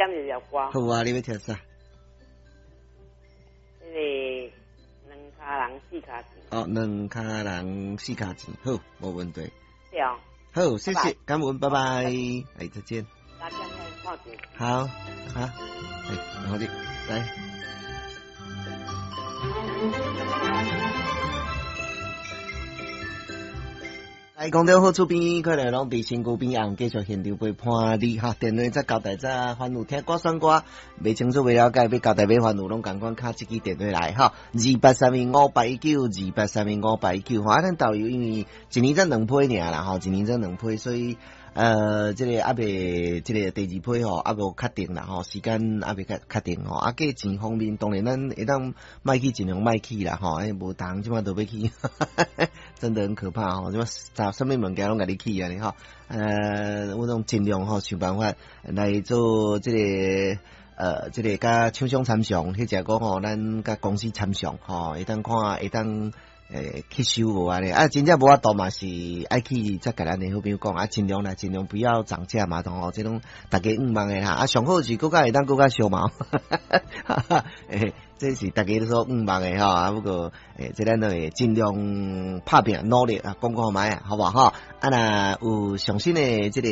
點一條歌。好啊，你欲聽啥？彼个兩跤人四跤錢。哦，兩跤人四跤錢，好，無問題。對哦。好，謝謝，感恩，拜拜，哎，再見。好，好，哎，好的，來。來，空中好厝邊，快來攏佇身軀邊紅，繼續現場陪伴你哈。電話再交代再煩惱聽歌選歌，袂清楚袂了解，欲交代欲煩惱，攏仝款敲這支電話來哈。28315819，28315819。哈，啊，咱導遊因為一年才兩批爾啦吼，一年才兩批，所以這個猶未，這個第二批吼，猶無確定啦吼，時間猶未確確定吼。啊，價錢方面，當然咱會當莫去盡量莫去啦吼，欸，無逐項這馬都欲去，真的很可怕吼，這馬啥啥物物件攏共你起按呢吼。我攏盡量吼想辦法來做這個，這個佮廠商參詳，或者講吼，咱佮公司參詳吼，會當看會當。欸，去收無按呢？啊，真正無法度嘛，是愛去再共咱的好朋友講啊，盡量啦，盡量不要漲價嘛，吼，這攏逐家願望的啦。啊，上好是閣較會當閣較俗嘛。欸，這是逐家都所願望的吼。啊，不過欸，這咱都會盡量拍拚努力啊，講看覓啊，好無吼？啊，若有上新的這個，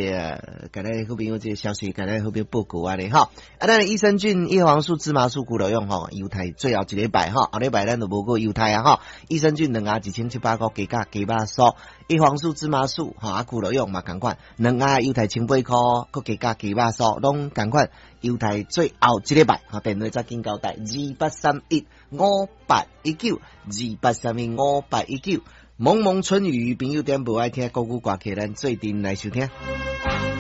共咱好朋友這個消息，共咱好朋友報告按呢吼。啊，咱的益生菌、葉黃素、芝麻素、骨頭用吼，猶太最後一禮拜吼，後禮拜咱就無閣猶太啊吼。益生菌兩盒1700箍，加價加肉酥，葉黃素、芝麻素吼，啊，骨頭用嘛仝款，兩盒猶太1008箍，閣加價加肉酥，攏仝款。猶太最後一禮拜，吼，電話再緊交代，28315819，28315819。蒙蒙春雨，朋友點無愛聽國語歌曲，咱做陣來收聽。